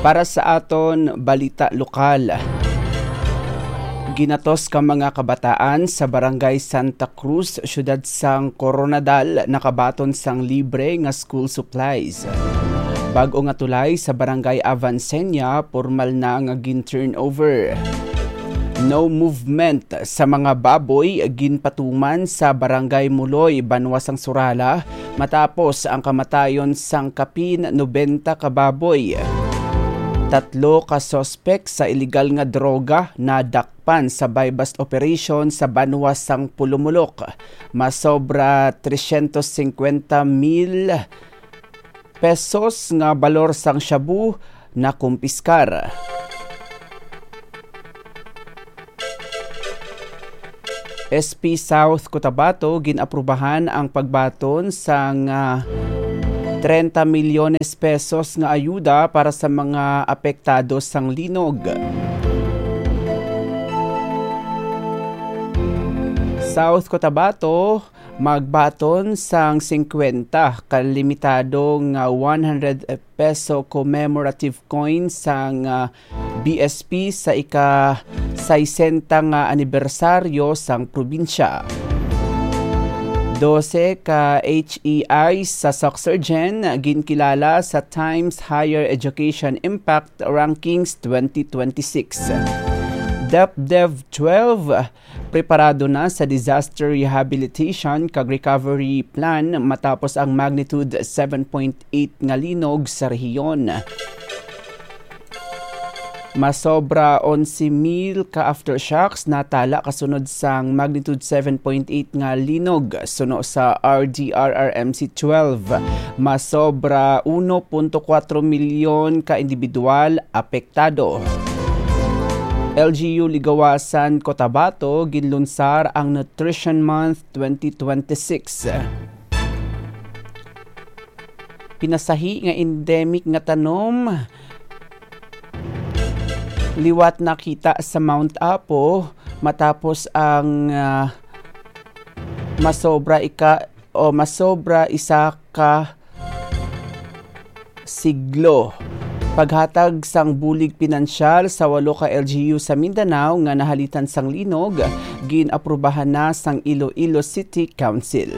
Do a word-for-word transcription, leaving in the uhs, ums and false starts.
Para sa aton balita lokal, ginatos ka mga kabataan sa Barangay Santa Cruz, siyudad sang Koronadal, nakabaton sang libre nga school supplies. Bag-o nga tulay sa Barangay Avancenia, pormal na nga gin-turnover. No movement sa mga baboy ginpatuman sa Barangay Muloy, banwa sang Surala, matapos ang kamatayon sang kapin nobenta ka baboy. Tatlo ka suspek sa iligal nga droga nadakpan sa buy-bust operation sa banwa sang Pulumulok. Masobra tresyentos singkwenta mil pesos nga balor sang shabu nakumpiskar. S P South Cotabato, gin-aprubahan ang pagbaton sang, ah, treinta milyones pesos nga ayuda para sa mga apektado sang linog. South Cotabato, magbaton sang singkwenta ka limitado nga one hundred peso commemorative coin sang, ah, B S P sa ika-sesenta nga anibersaryo sang probinsya. Dose ka H E I sa Soxergen ginkilala sa Times Higher Education Impact Rankings twenty twenty-six. DepDev twelve preparado na sa disaster rehabilitation kag recovery plan matapos ang magnitude seven point eight nga linog sa rehiyon. Masobra onse mil ka aftershocks natala kasunod sang magnitude seven point eight nga linog suno sa R D R R M C twelve. Masobra uno punto kuwatro milyon ka individual apektado. L G U Ligawasan, Cotabato, ginlunsar ang Nutrition Month twenty twenty-six. Pinasahi nga endemic nga tanom liwat nakita sa Mount Apo matapos ang, ah, masobra ika-, o masobra isa ka siglo. Paghatag sang bulig pinansyal sa walo ka L G U sa Mindanao nga nahalitan sang linog, gin-aprubahan na sang Iloilo City Council.